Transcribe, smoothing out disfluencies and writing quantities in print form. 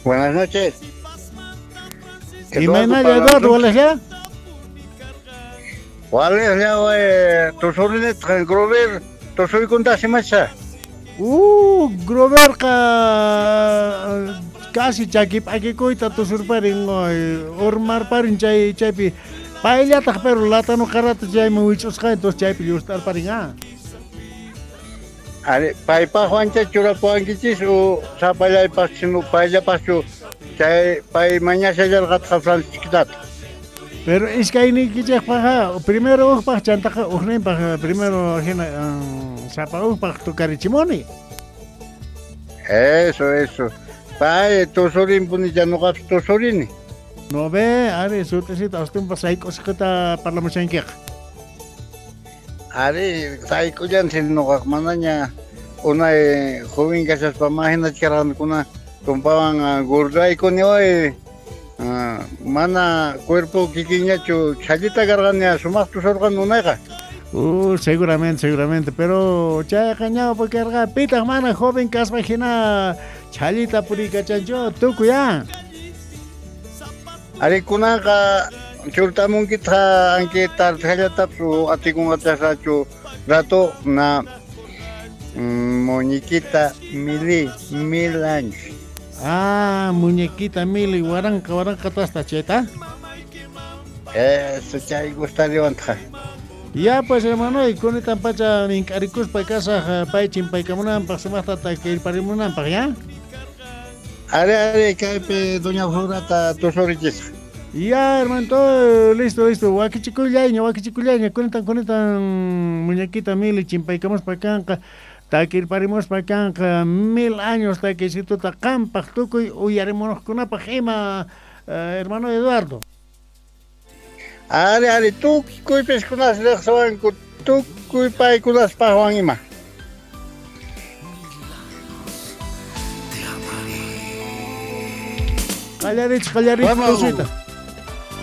Buenas noches. Imaynalla Eduardo, walejlla? Walejlla, tusurinetqa Grover tusuykunta imacha. Groverqa casi chaki p'akikuyta tusurparin, urmarparin chay chaypi payllataq pero latano qarata chayman wich'usqa entonces chaypi llust'arparin ah. Ari, paypaqwancha churapuwankichis u sapallaypaq sino payllapaqchu chay pay mañashallarqataq Francisquitata. Pero iskayniykichejpaqqa primero ujpaq chantaqa ujninpaq primero hina sapa ujpaq tukarichimuni. Eso, eso. Pay tusurinpunicha ñuqapis tusurini. No ve, ari sut'isita astumpa sayk'usqata parlamushankiqa. Ari, sayk'ullanchis ñuqaqa manaña unay joven kashaspa mahinachu karqanikuna tumpawan gordaykuni way mana cuerpo kikinñachu chhallita karqani sumaq tusurqani unayqa. Seguramente, seguramente, pero chayqa ñawpa karqa pitaq mana joven kaspa hina chhallita puriykachanchu tukuy ah. Ari kunanqa churtamunkitaq anki tarjallatapis o atikunqachasrachu rato na muñequita Mili, 1000 años. Ah, muñequita Mili, waranqa waranqa tasta chayta. Eso chay gustariwantaq. Ya pues hermano, y kunitan pacha mink'arikuspa kasaj pay chimpaykamunanpaq sumaqta takirparimunanpaq, ¿ya? Ari, ari, kaypi doña Florata tusurichisaq. Ya, hermano, todo listo, listo. Wakichikuyllaña, wakichikuyllaña. Kunitan, kunitan, muñequita Mili chimpaykamuspa kanqa, takirparimuspa kanqa, 1000 años takiysituta qampaq tukuy uyarimunuqkunapaq ima, hermano Eduardo. Ari, ari, tukuy piskunas riqsiwanku, tukuy paykunaspaqwan ima. Qallarich, qallarich, tusuyta.